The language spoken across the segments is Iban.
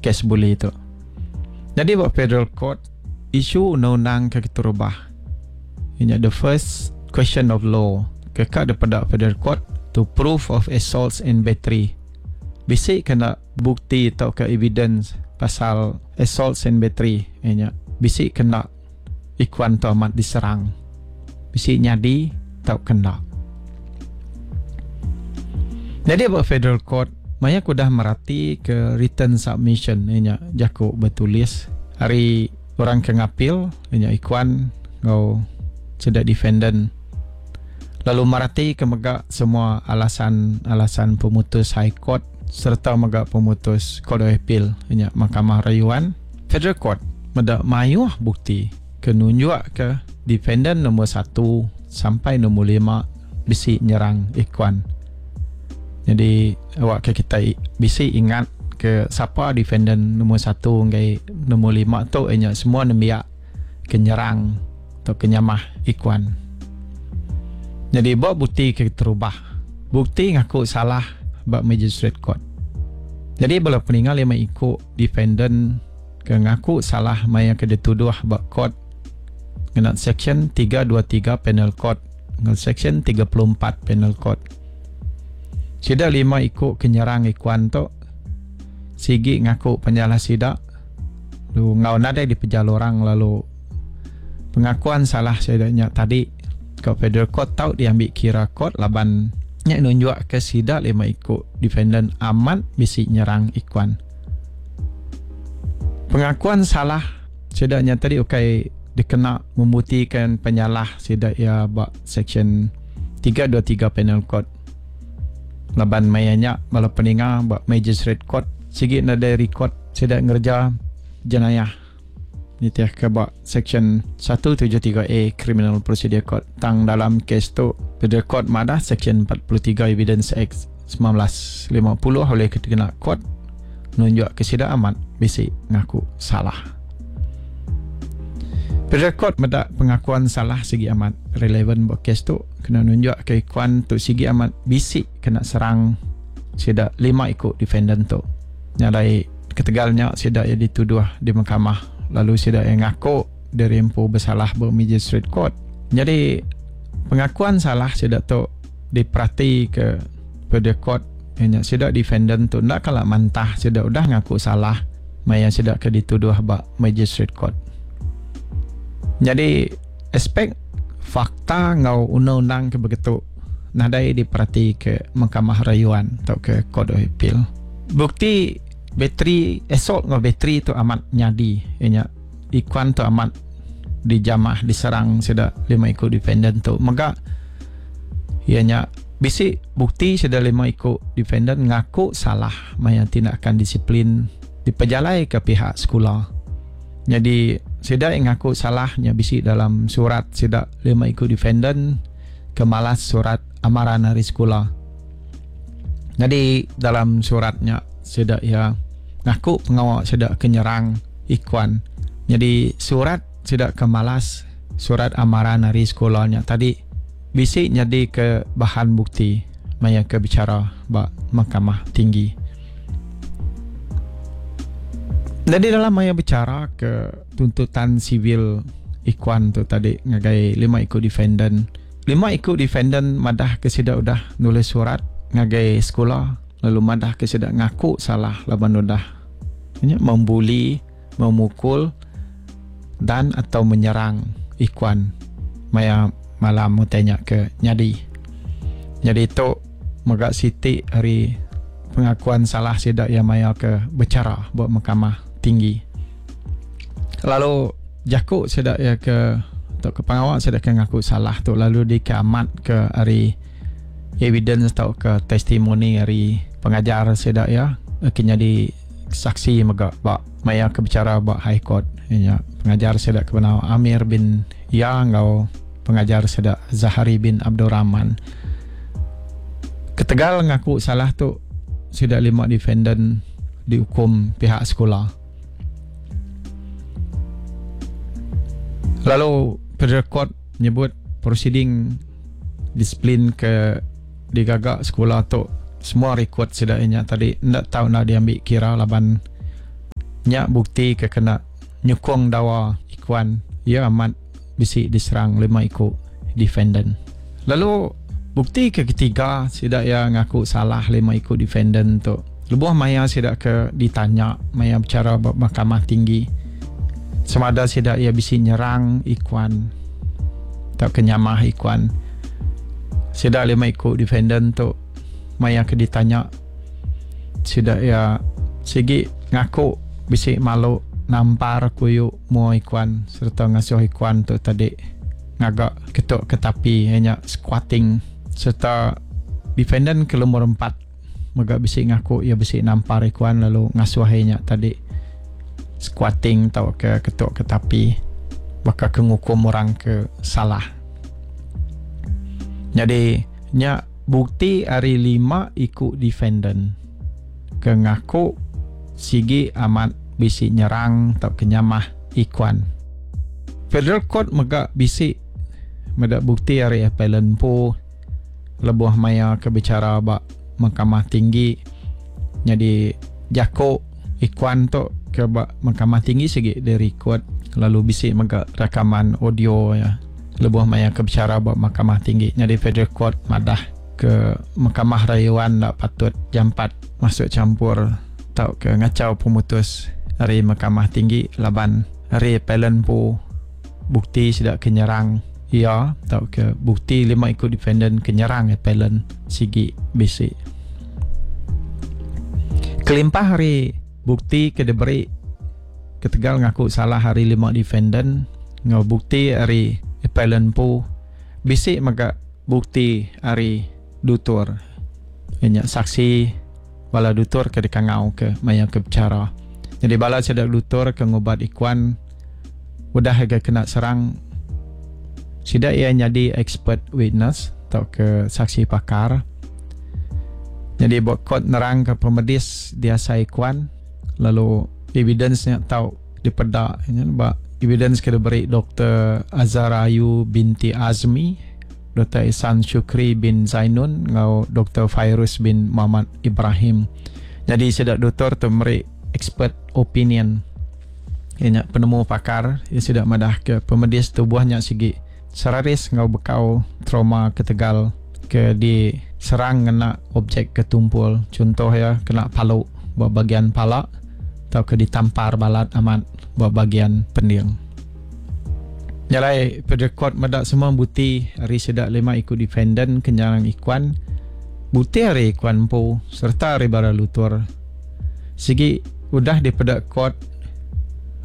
Kes buli tu. Nyadi ba Federal Court, isu undang-undang ke keterubah iya nya the first question of law ke ka dipeda Federal Court to proof of assaults and battery. Bisi ke enda bukti tauka evidence pasal assaults and battery iya nya bisi ke enda Ikuan tu amat diserang. Bisi nyadi tauka enda. Nyadi ba Federal Court, maya ke udah merati ke written submission iya nya jaku betulis ari orang ke ngapil iya nya Ikuan enggau sida defendant lalu merati ke mega semua alasan-alasan pemutus High Court sereta mega pemutus Court of Appeal iya nya Mahkamah Rayuan. Federal Court meda mayuh bukti ke nunjukka defendan nombor satu sampai nombor lima bisi nyerang Ikuan. Nyadi awakka kitai bisi ingat ke sapa defendan nombor satu enggai nombor lima tu iya nya semua nembiak ke nyerang tauka nyamah Ikuan. Nyadi ba bukti ke keterubah, bukti ngaku salah ba Magistrate Court. Nyadi bala peninga lima iku Defendant ke ngaku salah maya ke dituduh ba kort ngena Seksyen 323 Penal Code enggau Seksyen 34 Penal Code. Sida lima iku ke nyerang Ikuan tu sigi ngaku penyalah sida lalu enggau nadai dipejal orang lalu pengakuan salah sida nya tadi ke Federal Court tau diambi kira kort laban nya nunjukka sida lima iku defendant amat bisi nyerang Ikuan. Pengakuan salah sida nya tadi ukai dikena membuktikan penyalah sida iya ba Seksyen 323 Penal Code. Laban maya nya bala peninga ba Magistrate Court sigi nadai rikod sida ngereja jenayah nitihka ba Seksyen 173A Criminal Procedure Code. Tang dalam kes tu Federal Court madah Seksyen 43 Evidence Act 1950 ulih dikena kot nunjukka sida amat bisi ngaku salah. Federal Court meda pengakuan salah sigi amat relevan ba kes tu kena nunjukka ikuan tu sigi amat bisi kena serang sida lima iku defendant tu. Nya alai ketegal nya sida iya dituduh di mahkamah lalu sida iya ngaku diri empu besalah ba Magistrate Court. Nyadi pengakuan salah sida tu Diperatika Federal Court iya nya sida defendant tu enda kala mantah sida udah ngaku salah maya sida ke dituduh ba Magistrate Court. Nyadi aspek fakta enggau undang-undang ke begitu nadai diperatika Mahkamah Rayuan tauka Court of Appeal. Bukti bateri assault enggau bateri tu amat nyadi iya nya Ikuan tu amat dijamah diserang sida lima iku defendant tu mega iya nya bisi bukti sida lima iku defendant ngaku salah maya tindakan disiplin dipejalaika pihak sekula. Nyadi sida yang ngaku salah nya bisi dalam surat sida lima iku defendant ke malas surat amaran ari sekula. Nyadi dalam surat nya sida iya ngaku pengawa sida ke nyerang Ikuan. Nyadi surat sida ke malas surat amaran ari sekula nya tadi bisi nyadi ke bahan bukti maya ke bichara ba Mahkamah Tinggi. Nyadi dalam maya bichara ke tuntutan sivil Ikuan tu tadi ngagai lima iku defendant. Lima iku defendant madah ke sida udah nulis surat ngagai sekula lalu madah ke sida ngaku salah laban udah nya membuli, memukul dan atau menyerang Ikuan maya malam utai nya ke nyadi. Nyadi tu mega siti ari pengakuan salah sida iya maya ke bechara ba Mahkamah Tinggi. Lalu jaku sida iya ke tauka pengawa sida ke ngaku salah tu lalu dikeamatka ari evidence tauka testimoni ari pengajar sida iya ke nyadi saksi mega ba maya ke bechara ba High Court iya nya pengajar sida ke benama Amir bin Ya enggau pengajar sida Zahari bin Abdul Rahman. Ketegal ngaku salah tu sida lima defendant diukum pihak sekula. Lalu Federal Court nyebut prosiding disiplin ke digaga sekula tu semua rekod sida iya nya tadi enda tau enda diambi kira laban. Nya bukti ke kena nyukung dawa Ikuan iya amat bisi diserang lima iku defendant. Lalu bukti ke ketiga sida iya ngaku salah lima iku defendant tu lebuh maya sida ke ditanya maya bechara ba Mahkamah Tinggi semada sida iya bisi nyerang Ikuan tauka nyamah Ikuan. Sida lima iku defendant tu maya ke ditanya sida iya sigi ngaku bisi malu nampar kuyu mua Ikuan sereta ngasuh Ikuan tu tadi ngaga ketuk ke tapi iya nya squatting sereta defendant ke lumur empat mega bisi ngaku iya bisi nampar Ikuan lalu ngasuh iya nya tadi squatting tauka ketuk ke tapi baka ke ngukum orang ke salah. Nyadi nya bukti ari lima iku defendant ke ngaku sigi amat bisi nyerang tauka nyamah Ikuan. Federal Court mega bisi meda bukti ari appellant empu lebuh maya ke bichara ba Mahkamah Tinggi nyadi jaku Ikuan tu ke ba Mahkamah Tinggi sigi dirikod lalu bisi mega rakaman audio iya lebuh maya ke bichara ba Mahkamah Tinggi nyadi Federal Court madah ke Mahkamah Rayuan enda patut jampat masuk champur tauka ngachau pemutus ari Mahkamah Tinggi laban ari appellant empu bukti sida ke nyerang iya tauka bukti lima iku defendant ke nyerang appellant sigi bisi. Kelimpah ari bukti ke diberi ketegal ngaku salah ari lima defendant enggau bukti ari appellant empu, bisi mega bukti ari dutur iya nya saksi bala dutur ke dikangau ke maya ke bechara. Nyadi bala sida dutur ke ngubat Ikuan udah ga kena serang sida iya nyadi expert witness tauka saksi pakar. Nyadi ba court nerang ke pemedis diasai Ikuan lalu evidence nya tau dipeda nya ba evidence ke diberi Doktor Azhar Ayu binti Azmi, Doktor Ihsan Shukri bin Zainun enggau Doktor Fairuz bin Muhammad Ibrahim. Nyadi sida doktor tu meri expert opinion iya nya penemu pakar iya sida madahka pemedis tubuh nya sigi seraris enggau bekau trauma ketegal ke diserang ngena objek ke tumpul chunto iya kena palu ba bagian pala tauka ditampar balat amat ba bagian pending. Nya alai Federal Court meda semua buti ari sida lima iku defendant ke nyerang Ikuan, buti ari Ikuan empu sereta ari bara lutur sigi udah dipeda court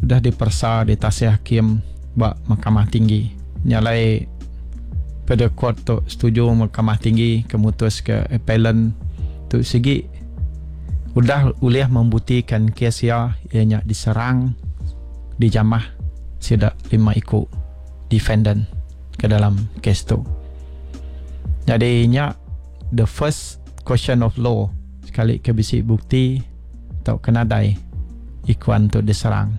udah diperesa ditasih hakim ba Mahkamah Tinggi. Nya alai Federal Court tu setuju Mahkamah Tinggi ke mutuska appellant tu sigi udah ulih membuktikan kes iya iya nya diserang dijamah sida lima iku defendant ke dalam kes tu. Nyadi nya the first question of law sekali ke bisi bukti tauka nadai ikuan tu diserang.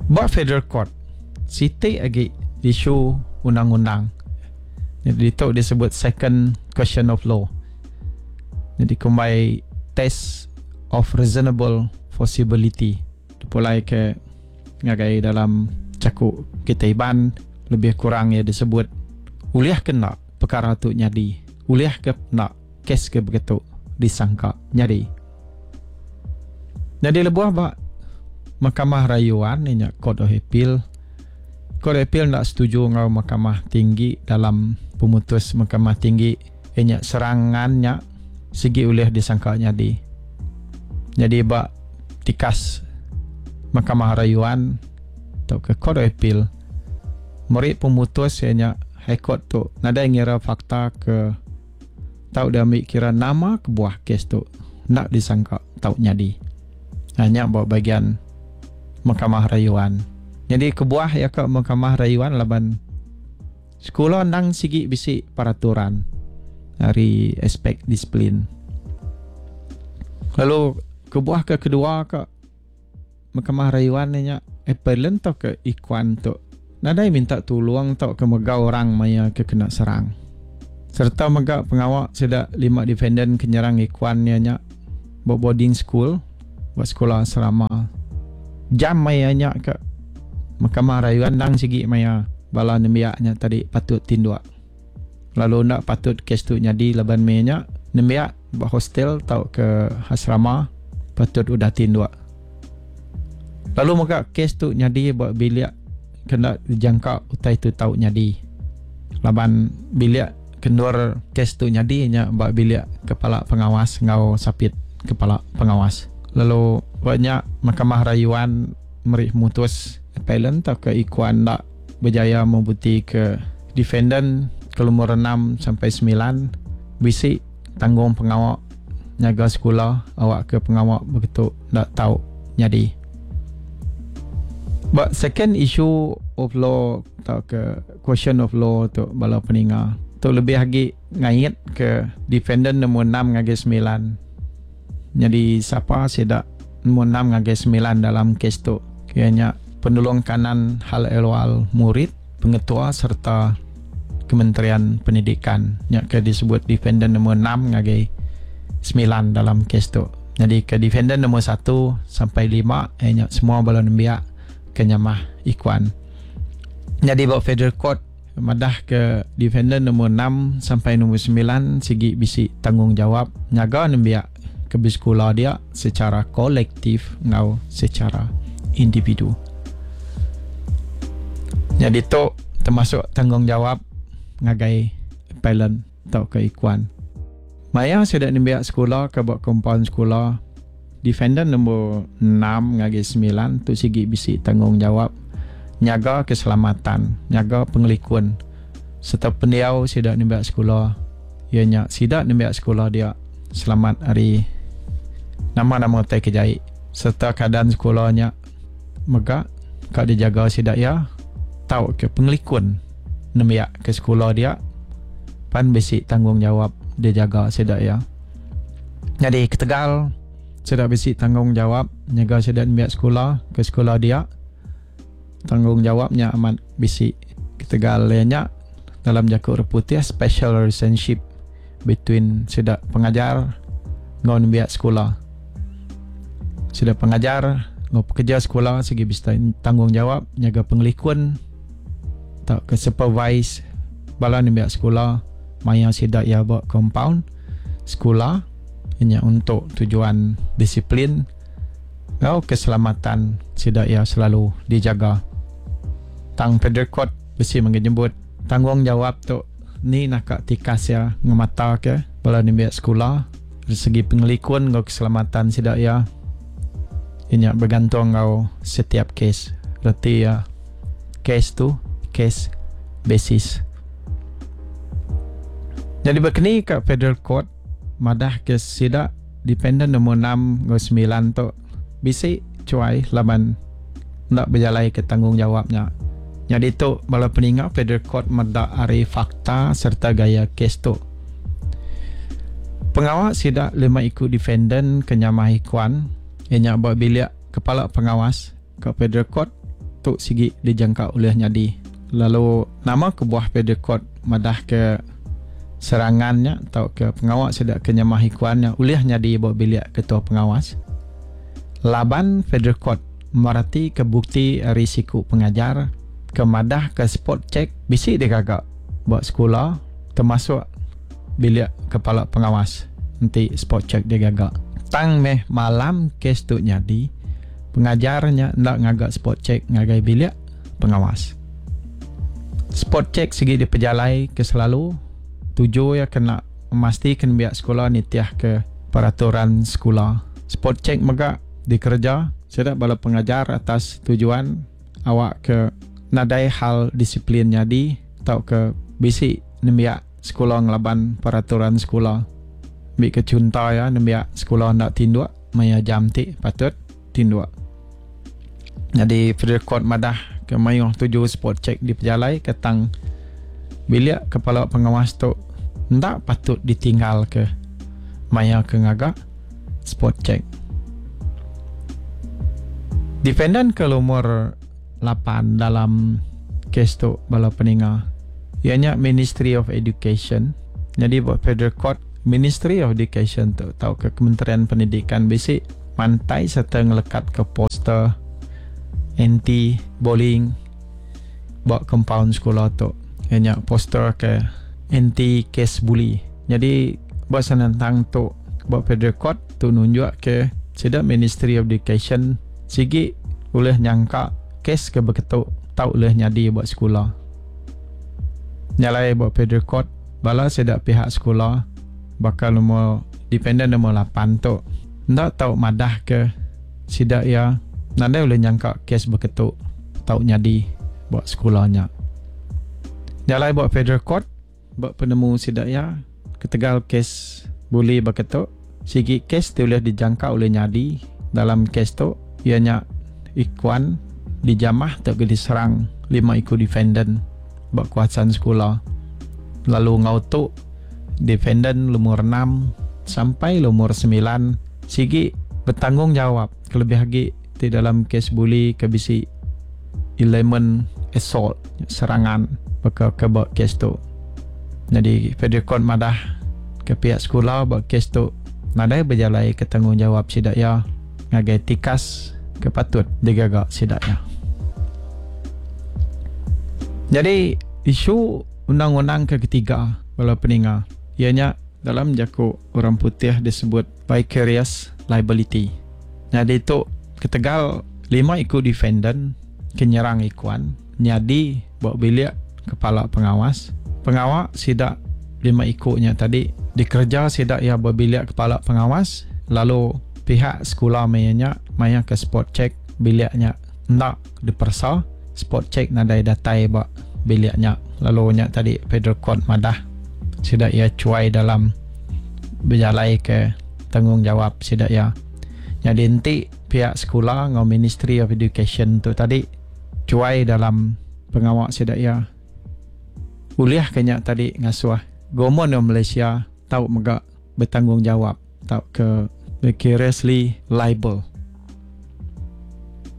Ba Federal Court, siti agi isu undang-undang. Nyadi ditu disebut second question of law. Nyadi kumbai test of reasonable possibility. Dipulai ke ngagai dalam jaku kitai Iban lebih kurang iya disebut ulih ke enda pekara tu nyadi, ulih ke enda kes ke begitu disangka nyadi. Nyadi lebuh ba Mahkamah Rayuan iya nya Court of Appeal, Court of Appeal enda setuju enggau Mahkamah Tinggi dalam pemutus Mahkamah Tinggi iya nya serangan nya sigi ulih disangka nyadi. Nyadi ba tikas Mahkamah Rayuan tauka Court of Appeal meri pemutus iya nya High Court tu nadai ngira fakta ke tau diambi kira nama kebuah kes tu enda disangka tau nyadi. Nya ba bagian Mahkamah Rayuan. Nyadi kebuah iya ka Mahkamah Rayuan laban Sekula endang sigi bisi peraturan ari aspek disiplin. Lalu kebuah ke kedua ka Mahkamah Rayuan nya appellant tauka ikuan tu nadai minta tulung tauka mega orang maya ke kena serang. Sereta mega pengawa sida lima defendant ke nyerang ikuan iya nya ba boarding school ba sekula asrama. Jam maya nya ke Mahkamah Rayuan endang sigi maya bala nembiak nya tadi patut tinduk. Lalu enda patut kes tu nyadi laban maya nya nembiak ba hostel tauka asrama patut udah tinduk. Lalu mega kes tu nyadi ba bilik ke enda dijangka utai tu tau nyadi. Laban bilik ke endur kes tu nyadi nya ba bilik kepala pengawas enggau sapit kepala pengawas. Lalu ba nya Mahkamah Rayuan meri pemutus appellant tauka ikuan enda bejaya mebutika defendant ke lumur enam sampai semilan bisi tanggung pengawa nyaga sekula awakka pengawa begitu enda tau nyadi. Ba second issue of law tauka question of law tu bala peninga tu lebih agi ngait ke defendant nombor enam ngagai semilan. Nyadi sapa sida nombor enam ngagai semilan dalam kes tu iya nya penulung kanan hal ehwal murid, pengetua sereta Kementerian Pendidikan nya ke disebut defendant nombor enam ngagai semilan dalam kes tu. Nyadi ke defendant nombor satu sampai lima iya nya semua bala nembiak ke nyamah ikuan. Nyadi ba Federal Court madah ke defendant nombor enam sampai nombor semilan sigi bisi tanggungjawab nyaga nembiak ke besekula dia secara kolektif enggau secara individu. Nyadi tu termasuk tanggungjawab ngagai appellant tauka ikuan. Maya sida nembiak sekula ke ba kompaun sekula, defendant nombor enam ngagai semilan tu sigi bisi tanggungjawab nyaga keselamatan, nyaga pengelikun sereta pendiau sida nembiak sekula iya nya sida nembiak sekula dia selamat ari nama-nama utai ke jai sereta keadaan sekula nya mega ka dijaga sida iya tauka pengelikun nembiak ke sekula dia pan bisi tanggungjawab dijaga sida iya. Nyadi ketegal sida bisi tanggungjawab nyaga sida nembiak sekula ke sekula dia, tanggungjawab nya amat bisi ketegal iya nya dalam jaku orang putih special relationship between sida pengajar enggau nembiak sekula. Sida pengajar enggau pekerja sekula sigi bisi tanggungjawab nyaga pengelikun tauka supervise bala nembiak sekula maya sida iya ba compound sekula inya untuk tujuan disiplin enggau keselamatan sida iya selalu dijaga. Tang Federal Court bisi mega nyebut tanggungjawab tu ni naka tikas iya ngemataka bala nembiak sekula ari segi pengelikun enggau keselamatan sida iya inya begantung enggau setiap kes. Reti iya kes tu case basis. Nyadi ba keni ka Federal Court madah ke sida dependent nombor enam enggau semilan tu bisi chuai laban enda bejalai ke tanggungjawab nya. Nyadi tu bala peninga Federal Court meda ari fakta sereta gaya kes tu. Pengawa sida lima iku defendant ke nyamah ikuan iya nya ba bilik kepala pengawas Ka Federal Court tu sigi dijangka ulih nyadi. Lalu nama kebuah Federal Court madahka serangan nya tauka pengawa sida ke nyamah ikuan nya ulih nyadi ba bilik ketua pengawas? Laban Federal Court meratika bukti ari siku pengajar ke madahka spot check bisi digaga ba sekula termasuk bilik kepala pengawas enti spot check digaga. Tang meh malam kes tu nyadi, pengajar nya enda ngaga spot check ngagai bilik pengawas. Spot check sigi dipejalai ke selalu tuju iya kena memastikan nembiak sekula nitihka peraturan sekula. Spot check mega dikereja sida bala pengajar atas tujuan awakka nadai hal disiplin nyadi tauka bisi nembiak sekula ngelaban peraturan sekula. Ambika chunto iya nembiak sekula enda tinduk maya jam ti patut tinduk. Nyadi Federal Court madah ke mayuh tuju spot check dipejalai ke tang bilik kepala pengawas tu enda patut ditinggal ke maya ke ngaga spot check. Defendant ke lumur lapan dalam kes tu bala peninga iya nya Ministry of Education. Nyadi ba Federal Court Ministry of Education tu tauka Kementerian Pendidikan bisi mantai sereta ngelekatka poster. anti bullying ba compound sekula tu iya nya poster ke anti case bully. Nyadi ba senentang tu ba Federal Court tu nunjuk ke sida Ministry of Education sigi ulih nyangka kes ke beketu tau ulih nyadi ba sekula. Nya alai ba Federal Court bala sida pihak sekula baka lumur dependent lumur lapan tu enda tau madah ke sida iya nadai ulih nyangka kes beketu tau nyadi ba sekula nya. Nya alai ba Federal Court ba penemu sida iya ketegal kes buli baka tu sigi kes ti ulih dijangka ulih nyadi dalam kes tu iya nya Ikuan dijamah tauka diserang lima iku defendan ba kawasan sekula lalu enggau tu defendan lumur enam sampai lumur semilan sigi betanggungjawab kelebih agi ti dalam kes buli ke bisi elemen assault serangan baka ke ba kes tu. Nyadi Federal Court madah ke piak sekula ba kes tu nadai bejalaika tanggungjawab sida iya ngagai tikas ke patut digaga sida iya. Nyadi isu undang-undang ke ketiga bala peninga iya nya dalam jaku orang putih disebut vicarious liability. Nyadi tu ketegal lima iku defendant ke nyerang Ikuan nyadi ba bilik kepala pengawas. Pengawa sida lima iku nya tadi dikereja sida iya ba bilik kepala pengawas lalu pihak sekula maya nya maya ke spot check bilik nya enda diperesa, spot check nadai datai ba bilik nya lalu nya tadi Federal Court madah sida iya chuai dalam bejalaika tanggungjawab sida iya. Nyadi enti piak sekula enggau Ministry of Education tu tadi chuai dalam pengawa sida iya ulih ke nya tadi ngasuh Government of Malaysia tau mega betanggungjawab tauka vicariously liable.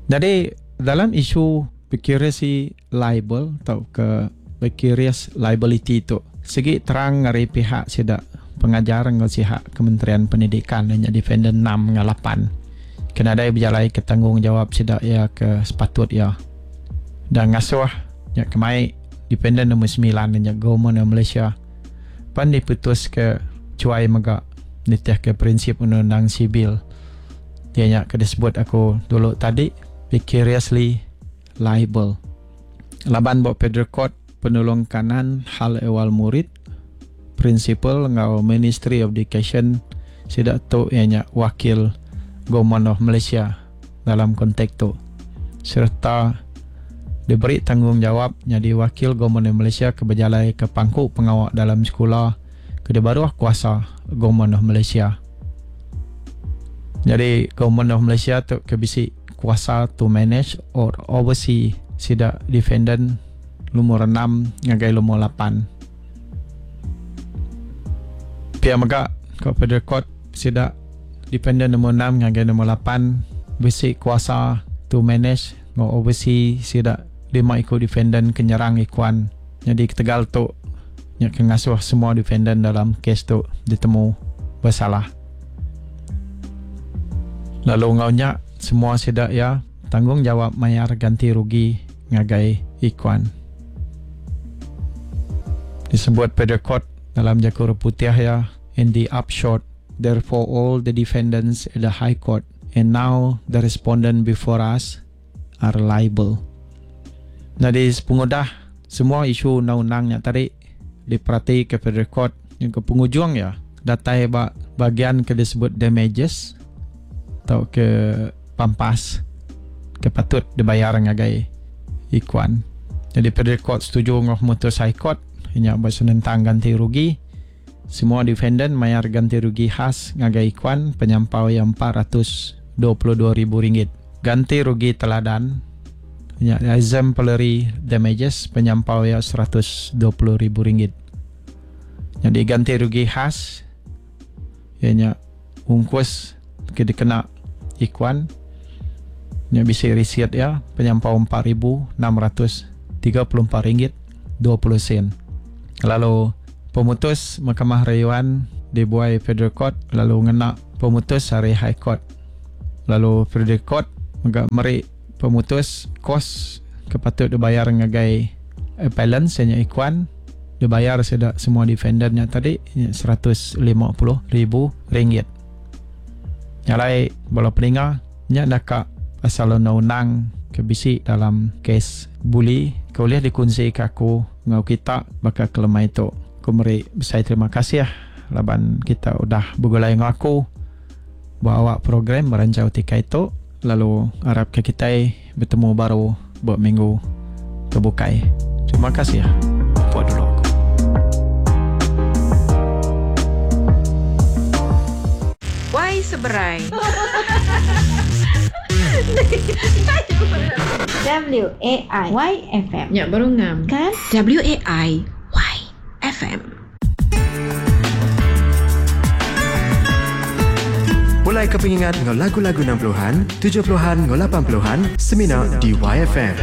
Nyadi dalam isu vicariously liable tauka vicarious liability tu sigi terang ari pihak sida pengajar enggau sihak Kementerian Pendidikan iya nya defendant enam enggau lapan ke nadai bejalaika tanggungjawab sida iya ke sepatut iya dan ngasuh nya kemai defendant nombor semilan iya nya Government of Malaysia pan diputuska chuai mega nitihka prinsip undang-undang sivil iya nya ke disebut aku dulu tadi vicariously liable. Laban ba Federal Court Penulung Kanan Hal Ehwal Murid, Principal enggau Ministry of Education sida tu iya nya wakil Government of Malaysia dalam kontek tu sereta diberi tanggungjawab nyadi wakil Government of Malaysia ke bejalaika pangku pengawa dalam sekula ke dibaruh kuasa Government of Malaysia. Nyadi Government of Malaysia tu ke bisi kuasa to manage or oversee sida defendant lumur enam ngagai lumur lapan. Pia mega ko Federal Court sida defendant lumur enam ngagai lumur lapan bisi kuasa to manage enggau oversee sida lima iku defendant ke nyerang Ikuan. Nyadi ketegal tu nya ke ngasuh semua defendant dalam kes tu ditemu besalah. Lalu enggau nya semua sida iya tanggungjawab mayar ganti rugi ngagai Ikuan. Disebut Federal Court dalam jaku orang putih iya in the upshot therefore all the defendants at the High Court and now the respondent before us are liable. Nyadi sepengudah semua isu undang-undang nya tadi diperatika Federal Court nyengka pengujung iya datai ba bagian ke disebut damages tauka pampas ke patut dibayar ngagai Ikuan. Nyadi Federal Court setuju enggau pemutus High Court nya ba senentang ganti rugi. Semua defendant mayar ganti rugi khas ngagai Ikuan penyampau iya 422 ribu ringgit. Ganti rugi teladan nya exemplary damages penyampau iya 120 ribu ringgit. Nyadi ganti rugi khas iya nya ungkus ke dikena Ikuan nya bisi risit iya penyampau 4634 ringgit 20 sen. Lalu pemutus Mahkamah Rayuan dibuai Federal Court lalu ngena pemutus ari High Court. Lalu Federal Court mega meri. Pemutus kos ke patut dibayar ngagai appellant iya nya Ikuan dibayar sida semua defendant nya tadi nya 150 ribu ringgit. Nya alai bala peninga nya naka pasal undang-undang ke bisi dalam kes buli ke ulih dikunsika aku enggau kita baka ke lemai tu. Aku meri besai terima kasih laban kita udah begulai enggau aku ba awak program Meranjau Tikai tu lalu arapka kitai betemu baru ba minggu ke bukai. Terima kasih. Puak dulu aku. Wai seberai. W A I Y F M. Nya baru ngam. Kan? W A I Y F M. Pulai ke pengingat enggau lagu-lagu 60-an, 70-an enggau 80-an semina di YFM.